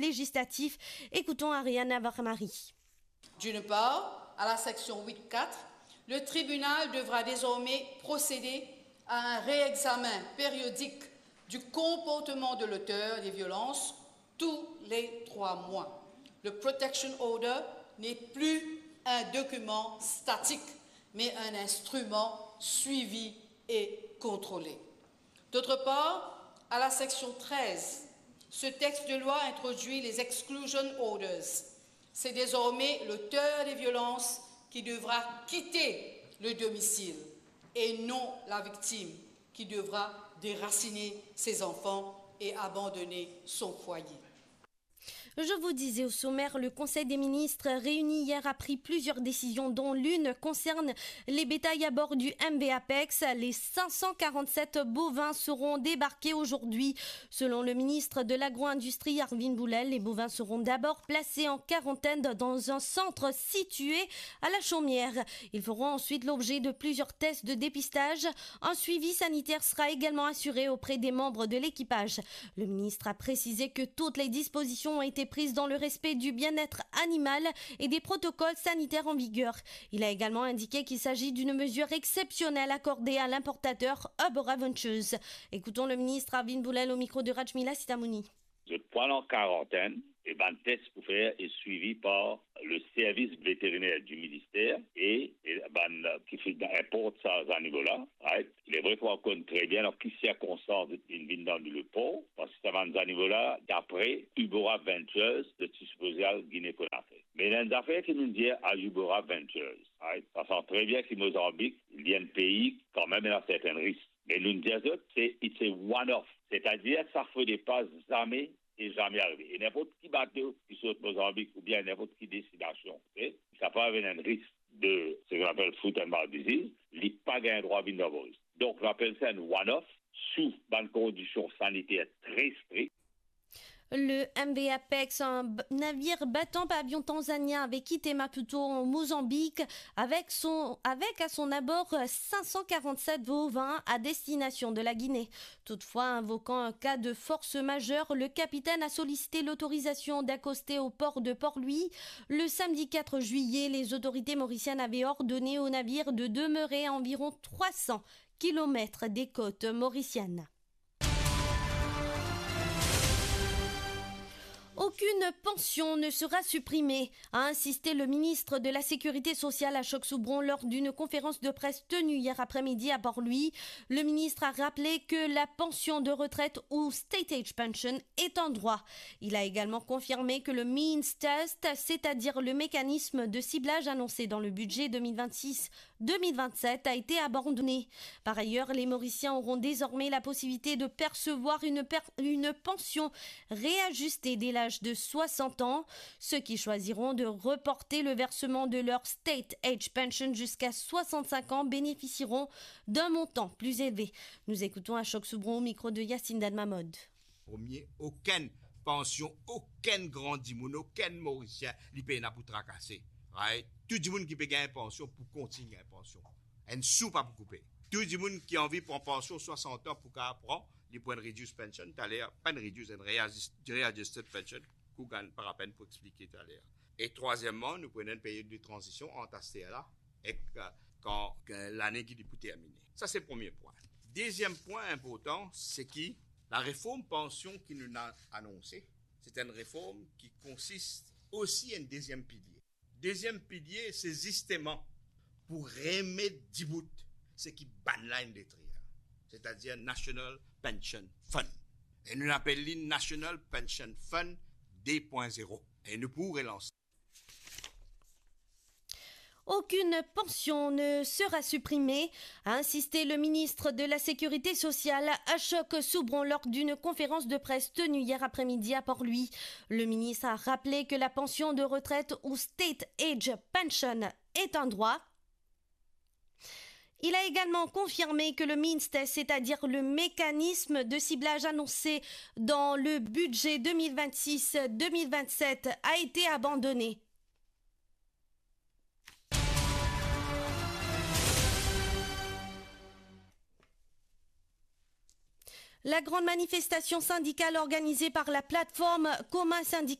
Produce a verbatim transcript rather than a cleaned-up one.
législatif. Écoutons Ariane Navarre-Marie. D'une part, à la section huit quatre, le tribunal devra désormais procéder à un réexamen périodique du comportement de l'auteur des violences tous les trois mois. Le protection order n'est plus un document statique, mais un instrument suivi et contrôlé. D'autre part, à la section treize, ce texte de loi introduit les exclusion orders. C'est désormais l'auteur des violences qui devra quitter le domicile et non la victime qui devra déraciner ses enfants et abandonner son foyer. Je vous disais au sommaire, le Conseil des ministres réuni hier a pris plusieurs décisions, dont l'une concerne les bétails à bord du M V Apex. Les cinq cent quarante-sept bovins seront débarqués aujourd'hui. Selon le ministre de l'Agro-industrie, Arvin Boulel, les bovins seront d'abord placés en quarantaine dans un centre situé à La Chaumière. Ils feront ensuite l'objet de plusieurs tests de dépistage. Un suivi sanitaire sera également assuré auprès des membres de l'équipage. Le ministre a précisé que toutes les dispositions ont été prises dans le respect du bien-être animal et des protocoles sanitaires en vigueur. Il a également indiqué qu'il s'agit d'une mesure exceptionnelle accordée à l'importateur Ubora Ventures. Écoutons le ministre Arvin Boulel au micro de Rajmila Sitamouni. Zot pran an karantenn, e bann tes pou fer e swivi par le service vétérinaire du ministère e, e bann, euh, ki finn inport sa zanimo la, right? Il est vrai ki nou konn tre bien dan ki sirkonstans inn vinn dan le por, parski sa bann zanimo la, dapre Ubora Ventures, zot ti sipoze al Gine Konakri. Me ena enn zafer ki nou dir a Ubora Ventures, right? Sa sanz tre bien ki Mozanbik, li enn pei kanmem ena sertenn risk. Me nou dir zot, se, it's a one-off. Setadir, sa fode pa zame e zame arive. E ninport ki bato ki sort Mozanbik oubien ninport ki destinasion, ok, li kapav ena enn risk de, seki nou apel foot and mouth disease, li pa gagn drwa vinn dan Moris. Donk, nou apel sa enn one-off sou bann kondision saniter tre strik. Le M V Apex, un b-, navire battant pavillon tanzanien, avait quitté Maputo en Mozambique avec son, avec à son abord cinq cent quarante-sept bovins à destination de la Guinée. Toutefois, invoquant un cas de force majeure, le capitaine a sollicité l'autorisation d'accoster au port de Port-Louis. Le samedi quatre juillet, les autorités mauriciennes avaient ordonné au navire de demeurer à environ trois cents kilomètres des côtes mauriciennes. Aucune pension ne sera supprimée, a insisté le ministre de la Sécurité sociale Ashok Soubron lors d'une conférence de presse tenue hier après-midi à Port-Louis. Le ministre a rappelé que la pension de retraite ou state age pension est un droit. Il a également confirmé que le means test, c'est-à-dire le mécanisme de ciblage annoncé dans le budget deux mille vingt-six deux mille vingt-sept a été abandonné. Par ailleurs, les Mauriciens auront désormais la possibilité de percevoir une per-, une pension réajustée dès l'âge de soixante ans. Ceux qui choisiront de reporter le versement de leur state age pension jusqu'à soixante-cinq ans bénéficieront d'un montant plus élevé. Nous écoutons Ashok Soubron au micro de Yacine Dalmamod. Premie, okenn pansion, okenn gran dimoun, okenn Morisien, li pena pou trakase. Right? Tou dimoun ki pe gagn pansion pou kontign gagn pansion. Enn sou pa pou koupe. Tou dimoun ki anvi pran pansion swasant an pou kapav pran, li pou enn reduced pension, taler, pa enn reduced, enn readjust-, readjusted pension, ki ou gagn pa lapenn pou explike taler. E trwazieman, nou pou ena enn period de tranzision ant aster la ek, euh, kan, kan lane ki li pou termine. Sa se premie pwin. Deziem pwin inportan, se ki lareform pansion ki nou ena anonse, se enn reform ki konsist osi enn deziem pilie. Deziem pilie, se zisteman pou remet dibout seki bann la inn detrir, setadir National Pension Fund. E nou apel li National Pension Fund de pwin zero. E nou pou relans. Aucune pension ne sera supprimée, a insisté le ministre de la Sécurité sociale, Ashok Soubron, lors d'une conférence de presse tenue hier après-midi à Port-Louis. Le ministre a rappelé que la pension de retraite ou state age pension est un droit. Il a également confirmé que le means test, c'est-à-dire le mécanisme de ciblage annoncé dans le budget deux mille vingt-six deux mille vingt-sept, a été abandonné. La grande manifestation syndicale organisée par la plateforme Komin Syndical